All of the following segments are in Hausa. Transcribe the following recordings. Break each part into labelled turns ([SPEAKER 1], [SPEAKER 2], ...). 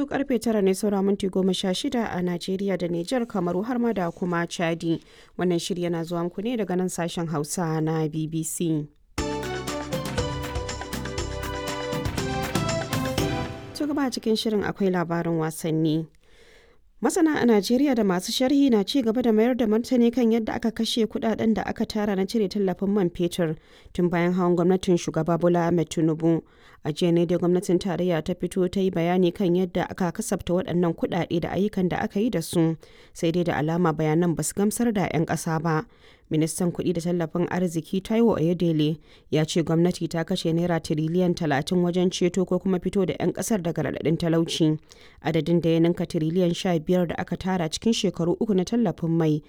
[SPEAKER 1] Yanzu karfe 9 ne saura minti 16 a Najeriya da Nijar, Kamaru har ma da kuma Chadi. Wannan shiri yana zuwa muku ne daga nan sashen Hausa na BBC. To gaba cikin shirin akwai labarin wasanni. Masana a Najeriya da masu sharhi na ci gaba da mayar da martani kan yadda aka kashe kudaden da aka tara na cire tallafin man fetur tun bayan hawan gwamnatin shugaba Bola Ahmed Tinubu. A jiya ne dai gwamnatin tarayya ta fito ta yi bayani kan yadda aka kasafta waɗannan kudade da ayyukan da aka yi da su, sai dai da alama bayanan ba su gamsar da 'yan ƙasa ba. Ministan kuɗi da tallafin arziki Taiwo Oyedele ya ce gwamnati ta kashe naira tiriliyan 30 wajen ceto ko kuma fito da 'yan ƙasar daga raɗaɗin talauci, adadin da ya ninka tiriliyan 15 da aka tara cikin shekaru 3 na tallafin mai.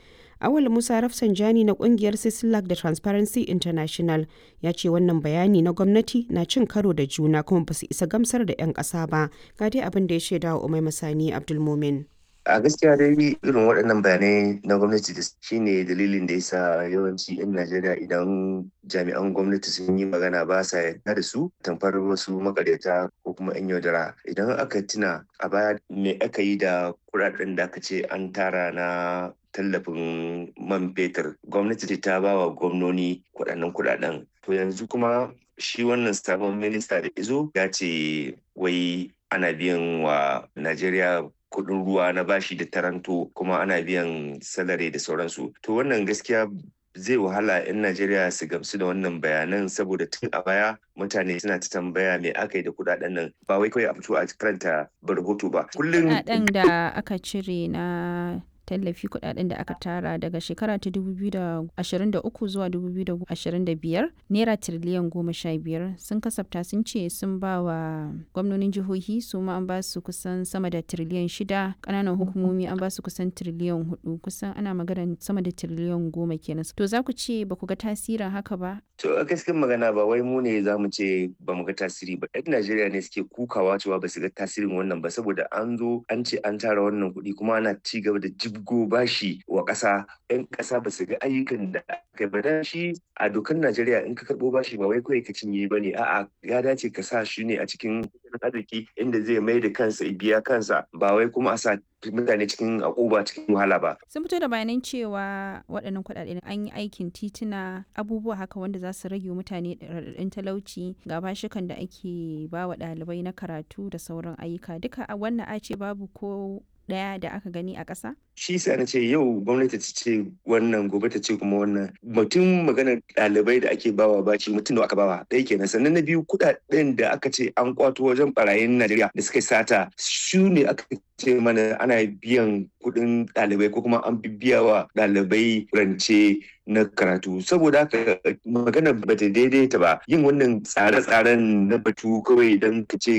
[SPEAKER 1] Awal Musa Rafsanjani na kungiyar Sislak da Transparency International ya ce wannan bayani na gwamnati na cin karo da juna kuma ba su isa gamsar da 'yan ƙasa ba. Ga dai abin da ya shaida wa Umai Masani Abdulmumin.
[SPEAKER 2] A gaskiya dai irin waɗannan bayanai na gwamnati da shine dalilin da yasa yawanci 'yan Najeriya idan jami'an gwamnati sun yi magana ba sa yarda da su tamfar wasu makaryata ko kuma 'yan yaudara. Idan aka tuna a baya me aka yi da kuɗaɗen da aka ce an tara na tallafin man fetur, gwamnati ta ba wa gwamnoni kuɗaɗen kuɗaɗen. To yanzu kuma shi wannan sabon minista da izo ya ce wai ana biyan wa Najeriya kudin ruwa na bashi da taranto kuma ana biyan salari da sauransu. To wannan gaskiya zai wahala 'yan Najeriya su gamsu da wannan bayanan, saboda tun a baya mutane suna ta tambaya me aka yi da kudaden nan, ba wai kawai a fito a karanta rahoto ba.
[SPEAKER 3] Kullum kudaden da aka cire na tallafi, kudaden da aka tara daga shekara ta 2023 zuwa 2025, naira tiriliyan 15 sun kasafta, sun ce sun ba wa gwamnonin jihohi, su ma an ba su kusan sama da tiriliyan 6, kananan hukumomi an ba su kusan tiriliyan 4, kusan ana magana sama da tiriliyan 10 kenan. To za ku ce ba ku ga tasirin haka ba?
[SPEAKER 2] To a gaskiyar magana ba wai mu ne za mu ce ba mu ga tasiri ba, 'yan Najeriya ne suke kukawa cewa ba su ga tasirin wannan ba, saboda an zo an ce an tara wannan kuɗi kuma ana ci gaba da jibgo bashi wa ƙasa. 'Yan ƙasa ba su ga ayyukan da aka ba. Dan shi a dokar Najeriya, in ka karɓo bashi ba wai kawai ka cinye ba ne, a'a, ya dace ka sa shi ne a cikin arziki inda zai mai da kansa biya kansa, ba wai kuma a sa mutane cikin akuba, cikin wahala ba.
[SPEAKER 3] Sun fito da bayanan cewa waɗannan kuɗaɗe an yi aikin tituna, abubuwa haka wanda za su rage mutane raɗaɗin talauci, ga bashikan da ake ba wa ɗalibai na karatu da sauran ayyuka. Duka wannan a ce babu ko ɗaya da aka gani a ƙasa?
[SPEAKER 2] Shi sa na ce yau gwamnati ta ce wannan, gobe ta ce kuma wannan. Mutum maganar ɗalibai da ake bawa baci, mutum da aka bawa ɗaya kenan. Sannan na biyu, kuɗaɗen da aka ce an kwato wajen barayin Najeriya da suka sata, su ne aka ce mana ana biyan kuɗin ɗalibai ko kuma an biya wa ɗalibai rance na karatu. Saboda haka magana ba ta daidaita ba, yin wannan tsare-tsaren na batu kawai don ka ce